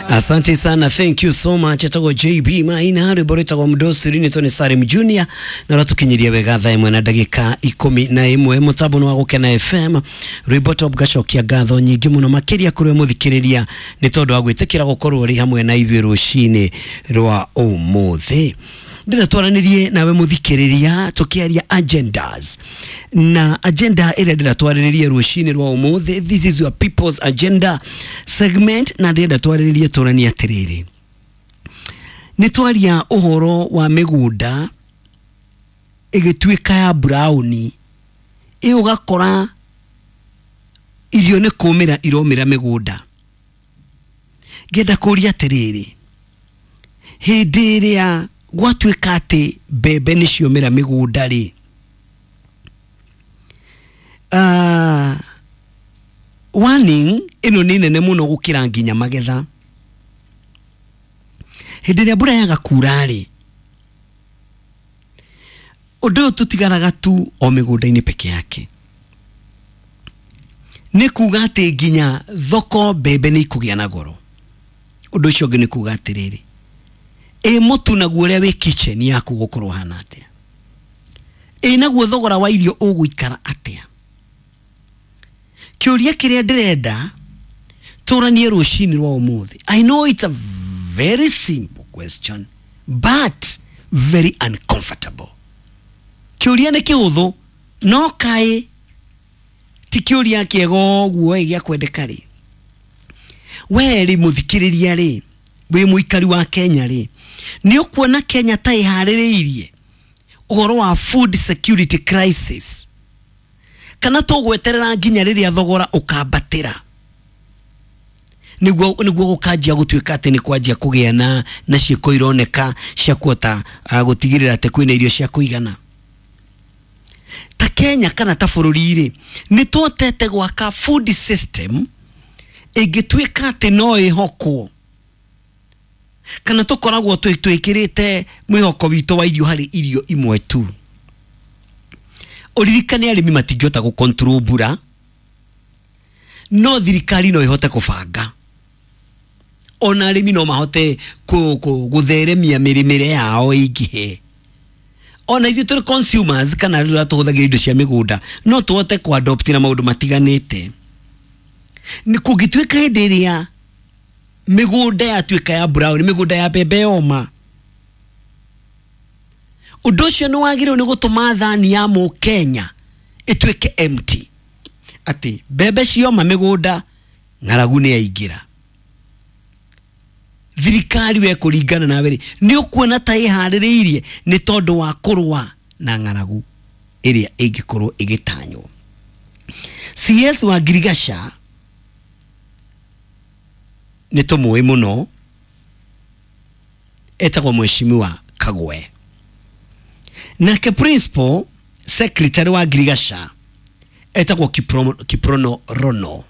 Asante sana, thank you so much. Etagwo JB Maina, rwimbo rwitagwo Mdosi rinitwo ni Salim Junior, na ratukinyiria wega thaa ĩmwe na ndagĩka 11 mũtambo nĩ wa Gũkena FM. Rwimbo top gacokia ngatho nyingĩ mũno makĩria kũrĩ we mũthikĩrĩria nĩ tondũ wa gwĩtĩkĩra gũkorwo ũrĩ hamwe na ithuĩ rũcinĩ rwa ũmũthĩ. Ndĩrenda twaranĩrie nawe mũthikĩrĩria tũkĩaria agendas, na agenda ĩrĩa ndĩrenda twarĩrĩrie rũcinĩ rwa ũmũthĩ, this is your people's agenda segment, na ndĩrenda twarĩrĩrie tũranie atĩrĩrĩ, nĩ twaria ũhoro wa mĩgũnda ĩgĩtuĩka ya brown, ĩ ũgakora irio nĩ kũmĩra iromĩra mĩgũnda. Ngĩenda kũria atĩrĩrĩ, hĩndĩ ĩrĩa gwatuĩka atĩ mbembe nĩ ciomĩra mĩgũnda rĩ, warning ĩno nĩ nene mũno gũkĩra nginya magetha. Hĩndĩ ĩrĩa mbura yaga kura rĩ, ũndũ ũyũ tũtigaraga tu o mĩgũnda-inĩ peke yake, nĩ kuga atĩ nginya thoko mbembe nĩ ikũgĩa na goro. Ũndũ ũcio ũngĩ nĩ kuga atĩrĩrĩ, ĩ mũtu naguo ũrĩa wĩ kitchen yaku gũkorwo hana atĩa? Ĩ naguo thogora wa irio ũgũikara atĩa? Kĩũria kĩrĩa ndĩrenda tũranie rũcinĩ rwa ũmũthĩ, I know it's a very simple question but very uncomfortable. Kĩũria nĩ kĩhũthũ no kaĩ ti kĩũria kĩega ũguo ĩ gĩa kwendeka rĩ. We rĩ mũthikĩrĩria rĩ, wĩ mũikari wa Kenya rĩ, nĩ ũkuona Kenya ta ĩharĩrĩirie ũhoro wa food security crisis, kana tũgweterera nginya rĩrĩa thogora ũkambatĩra nĩguo gũkanjia gũtuĩka atĩ nĩ kwanjia kũgĩa na ciĩko ironeka cia kũhota gũtigĩrĩra atĩ kwĩna irio cia kũigana? Ta Kenya kana ta bũrũri rĩ, nĩ twotete gwaka food system ĩngĩtuĩka atĩ no ĩhokwo, kana tũkoragwo twĩkĩrĩte mwĩhoko witũ wa irio harĩ irio imwe tu? Ũririkane arĩmi matingĩhota gũ control mbura, no thirikari no ĩhote kũbanga. Ona arĩmi no mahote gũtheremia mĩrĩmĩre yao ĩingĩhe. Ona ithuĩ tũrĩ consumers kana rĩrĩa tũhũthagĩra indo cia mĩgũnda no tũhote kũ adopt na maũndũ matiganĩte. Nĩ kũngĩtuĩka hĩndĩ ĩrĩa mĩgũnda yatuĩka ya brown, mĩgũnda ya mbembe yoma, ũndũ ũcio nĩ wagĩrĩirwo nĩ gũtũma thani ya mũkenya ĩtuĩke empty, atĩ mbembe cioma mĩgũnda ng'aragu nĩ yaingĩra. Thirikari we kũringana nawe rĩ, nĩ ũkuona ta ĩharĩrĩirie nĩ tondũ wa kũrũa na ng'aragu ĩrĩa ĩngĩkorwo ĩgĩtanywo? CS wa Girigasha nĩ tũmũĩ mũno, etagwo Mheshimiwa Kagwe. Nake principal secretary wa Girigasha etagwo Kiprono Rono.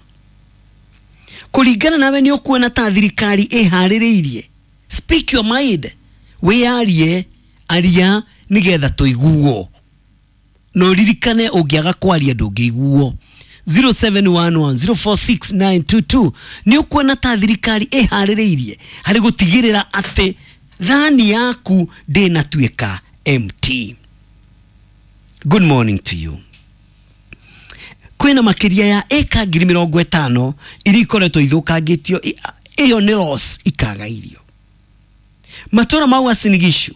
Kũringana nawe nĩ ũkuona ta thirikari ĩharĩrĩirie? Speak your mind, wĩyarie, aria nĩgetha tũiguo. No ririkane ũngĩaga kwaria ndũngĩiguo. 0711046922, nĩ ũkuona ta thirikari ĩharĩrĩirie harĩ gũtigĩrĩra atĩ thani yaku ndĩnatuĩka empty? Good morning to you. Kwĩna makĩria ya ĩka 50,000 iria ikoretwo ithũkangĩtio, ĩyo nĩ loss, ikaga irio. Matũra mau Uasin Gishu,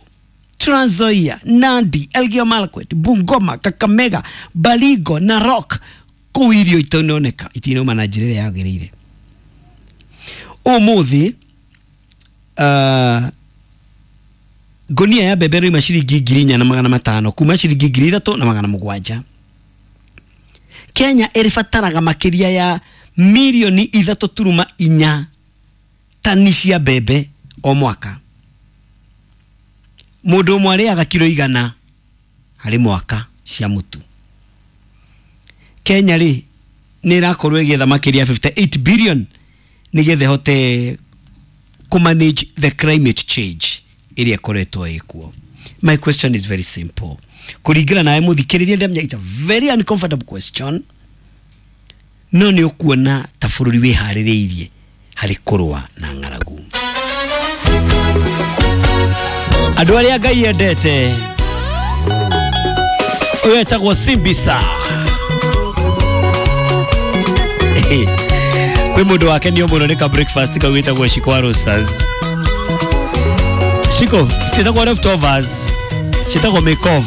Trans Nzoia, Nandi, Elgeyo Marakwet, Bungoma, Kakamega, Baringo, Narok, kũu irio itinoneka, itinauma na njĩra ĩrĩa yagĩrĩire. Ũmũthĩ ngũnia ya mbembe ĩrauma ciringi 4,500 kuma ciringi 3,700. Kenya ĩrĩbataraga makĩria ya mirioni 3.4 tani cia mbembe o mwaka. Mũndũ ũmwe arĩaga kiro 100 harĩ mwaka cia mũtu. Kenya rĩ nĩ ĩrakorwo ĩgĩetha makĩria 58 billion nĩgetha ĩhote kũ manage the climate change ĩrĩa ĩkoretwo ĩkuo. My question is very simple. Kũringana nawe mũthikĩrĩria, ndamenya it's a very uncomfortable question, no nĩ ũkuona ta bũrũri wĩharĩrĩirie harĩ kũrũa na ng'aragu? Andũ arĩa Ngai endete. Ũyũ etagwo Simbisa. Kwĩ mũndũ wakenio mũno nĩ ka breakfast kau gĩtagwo Shiko Roasters. Shiko, citagwo leftovers, citagwo makeover.